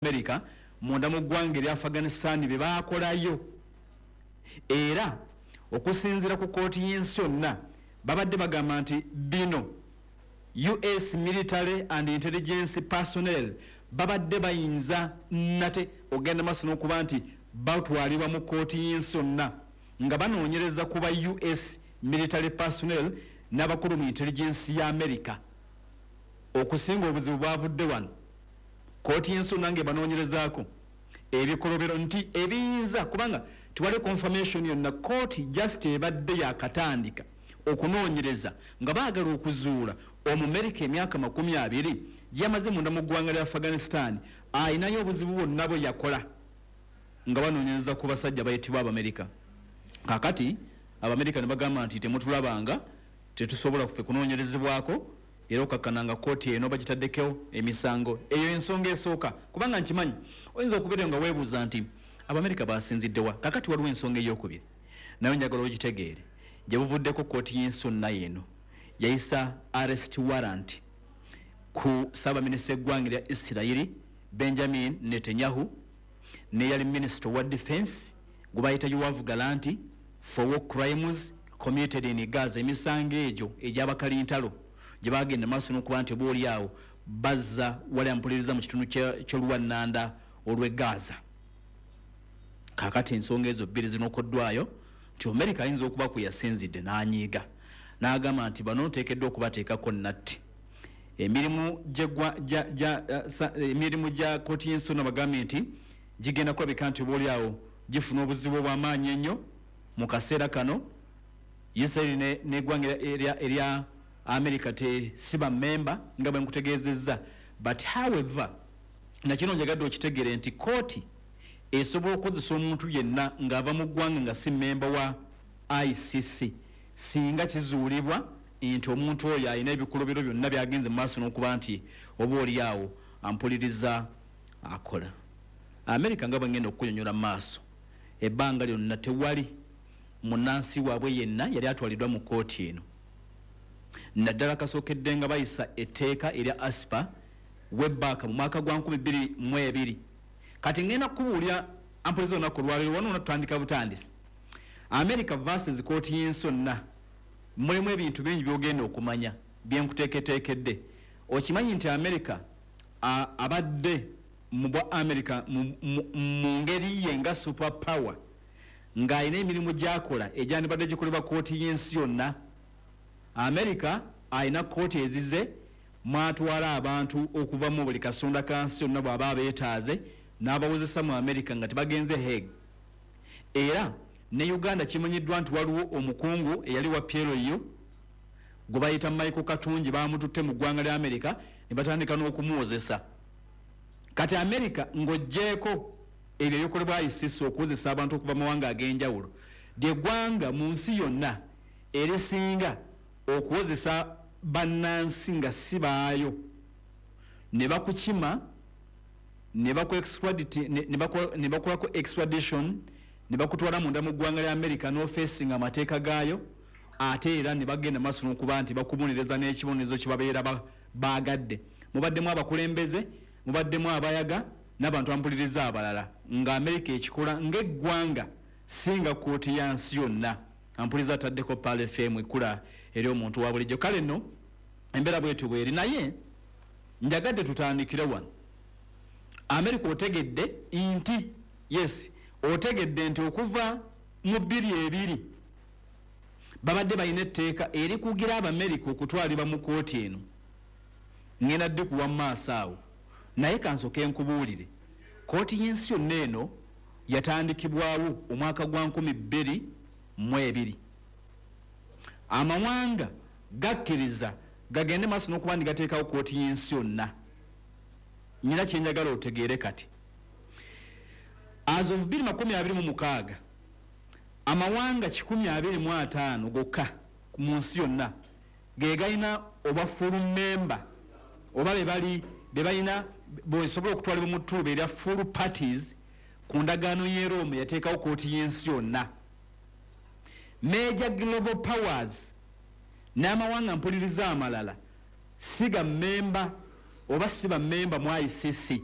America munda mu ggwanga erya Afghanistan bye baakolayo. Era okusinziira ku kkooti y'ensi yonna, babadde bagamba nti bino US military and intelligence personnel babadde bayinza nate okugenda maaso n'okuba nti batwalibwa mu kkooti y'ensi yonna nga banoonyereza ku ba US military personnel n'abakulu mu intelligence ya America. Okusinga obuzibu bwavudde wano kkooti y'ensi yonna ng'ebanoonyerezaako ebikolobero nti ebiyinza kubanga tewali confirmation yonna. Kkooti just ebadde yakatandika okunoonyereza nga baagala okuzuula Omumerika emyaka 20 gyeyamaze munda mu ggwanga lya Afghanistan ayinayo obuzibu bwonna bwe yakola nga banoonyereza ku basajja bayitibwa Abamerika. Kakati Abamerika ne bagamba nti temutulabanga, tetusobola kufe kunoonyerezebwako, era okakkana nga kkooti eno bagitaddeko emisango. Eyo ensonga esooka, kubanga nkimanyi oyinza okubeera nga weebuuza nti Abamerika basinziddewa. Kakati waliwo ensonga eyokubiri nayo njagala ogitegeere. Gye buvuddeko kkooti y'ensi yonna eno yayisa arrest warrant ku ssaabaminisita eggwanga erya Isirayiri Benjamin Netanyahu neyali minisita wa defense gwe bayita Yoav Gallant for war crimes committed in Gaza, emisango egyo egy'abakalintalo gye bagenda maaso n'okuba nti oba oli awo bazza wali ampuliriza mu kitundu ky'oluwannanda olw'e Gaza. Kakati ensonga ezo bbiri zinokoddwayo nti Amerika ayinza okuba kwe yasinzidde n'anyiiga n'agamba nti bano nteekeddwa okubateekako natti emirimu gya kkooti y'ensi yonna. Bagambye nti gigenda kulabika nti oba oli awo gifuna obuzibu obw'amaanyi ennyo mu kaseera kano. Isiraeri n'eggwanga erya America tesiba memba nga bwe nkutegeezezza, but however nakino njagadde okitegeere nti kooti esobola okukozesa omuntu yenna ng'ava mu ggwanga nga si memba wa ICC singa kizuulibwa nti omuntu oyo alina ebikolobero byonna byagenze mu maaso n'okuba nti oba oli awo ampuliriza akola. America, nga bwe ngenda okukunyonyola mu maaso, ebbanga lyonna tewali munnansi waabwe yenna yali atwaliddwa mu kkooti eno, naddala kasookedde nga bayisa etteeka erya ASPA webaaka mu mwaka gwa 2002. Kati ngenda kukubuulira ampuliza olunaku olwaleero wano tutandika butandisi. America versus kooti y'ensi yonna mulimu ebintu bingi byogenda okumanya byenkuteeketeekedde. Okimanyi nti America abadde mu bwa America mu ngeri ye nga super power ng'alina emirimu gyakola egyandibadde gikolebwa kooti y'ensi yonna. America alina kooti ezize mwatwala abantu okuva mu buli kasonda ka nsi yonna bw'aba abeetaaze n'abawozesa mu America nga tebagenze Hague. Era ne Uganda kimanyiddwa nti waliwo omukungu eyali wa PLU gwe bayita Michael Katungi, bamututte mu ggwanga lya America ne batandika n'okumuwozesa. Kati America, ng'oggyeeko ebyo ebikolebwa ICC okuwozesa abantu okuva mu mawanga ag'enjawulo, lyeggwanga mu nsi yonna erisinga okuwozesa bannansi nga si baayo ne bakukima ne bakolako extradition ne bakutwala munda mu ggwanga lya America n'ofeesinga amateeka gaayo, ate era ne bagenda maaso n'okuba nti bakubonereza n'ekibonerezo kye babeera baagadde. Mubaddemu abakulembeze, mubaddemu abayaga n'abantu ampuliriza abalala nga America ekikola ng'eggwanga, singa kooti ya nsi yonna. Ampuliza ataddeko Pearl FM ekula eri omuntu wa bulijjo. Kale nno embeera bwetyo bweri, naye njagadde tutandikire wano. America otegedde nti yes, otegedde nti okuva mu 22 babadde balina etteeka erikugira Abamerika okutwalibwa mu kooti eno. Ngenda ddi kuwa mu maaso awo, naye kansooke nkubuulire kooti y'ensi yonna eno yatandikibwawo omwaka gwa 2002. Amawanga gakkiriza gagende maaso n'okuba ndi gateekawo kooti y'ensi yonna. Nyina kyenjagala otegeere kati, as of 2026 amawanga 125 gokka mu nsi yonna ge galina oba full member oba bebali bebalina bosobola okutwalibwa mu ttuuba erya full parties ku ndagaano y'e Rome yateekawo kooti y'ensi yonna. Major global powers n'amawanga mpuliriza amalala siga memba oba si bamemba mu ICC.